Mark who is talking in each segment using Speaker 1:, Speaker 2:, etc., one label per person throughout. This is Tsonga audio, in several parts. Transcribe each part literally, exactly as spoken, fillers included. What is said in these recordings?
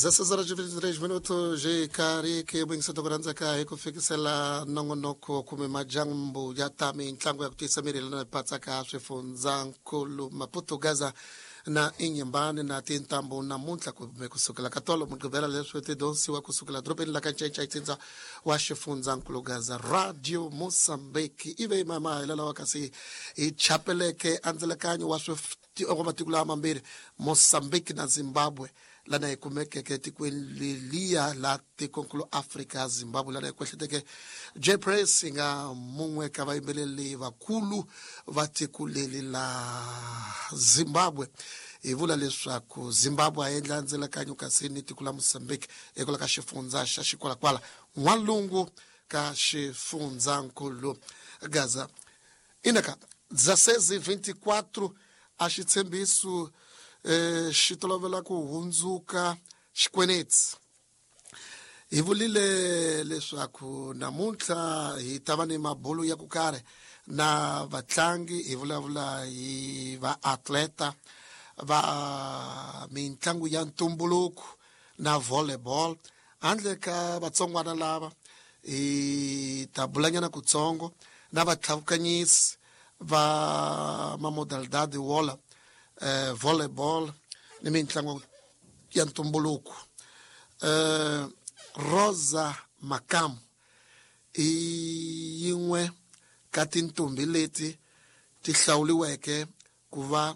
Speaker 1: Dezesseis horas e vinte e três minutos jikariki mwingiseto ku rhandzeka hi ku fikisela nongonoko kumbe majambu ya ta mintlangu ya ku tiyisa miri lana patsaka swifundzankulu Maputo, Gaza na Inhambane na tintambu namuntlha kumbe kusukela ka tolo Mugqivela leswi ti donsiwa kusukela dorobeni la ka Ncencei ntsindza wa xifundzankulu Gaza. Radio Mozambique ive mama lawa kasi hi chapeleke andzelekanyo wa wa matiko lawa mambirhi Mozambique na Zimbabwe lana hi kumekeke etikweni leliya la tikonkulu Afrika Zimbabwe lana hi kwehleteke J Press yi nga mun'we ka vayimbeleri vakulu va tiko leri la Zimbabwe. Hi vula leswaku Zimbabwe a endla ndzelekanyo kasi ni tiko la Mozambique ekwala ka xifundza xa Xikwalakwala n'walungu ka xifundzankulu Gaza. Inaka dezesseis e vinte e quatro a xitshembiso eh xi tolovela ku hundzuka xikwenetsi. Hi vulile leswaku namuntlha hi ta va ni mabulu ya ku karhi na vatlangi, hi vulavula hi vaatleta va mitlangu ya ntumbuluko na volleyball. Handle ka vatsongwana lava hi ta bulanyana kutsongo na vatlhavukanyisi va mamodalidade wola eh, volleyball ni mitlangu ya ntumbuluko. Eh, Rosa Makamu i yin'we ka tintombi leti ti hlawuriweke ku va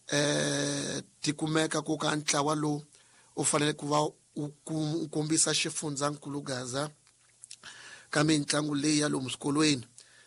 Speaker 1: eh ti kumeka ku ka ntlawa lowu u fanele ku va u kombisa xifundzankulu Gaza ka mitlangu leyi ya lomu swikolweni.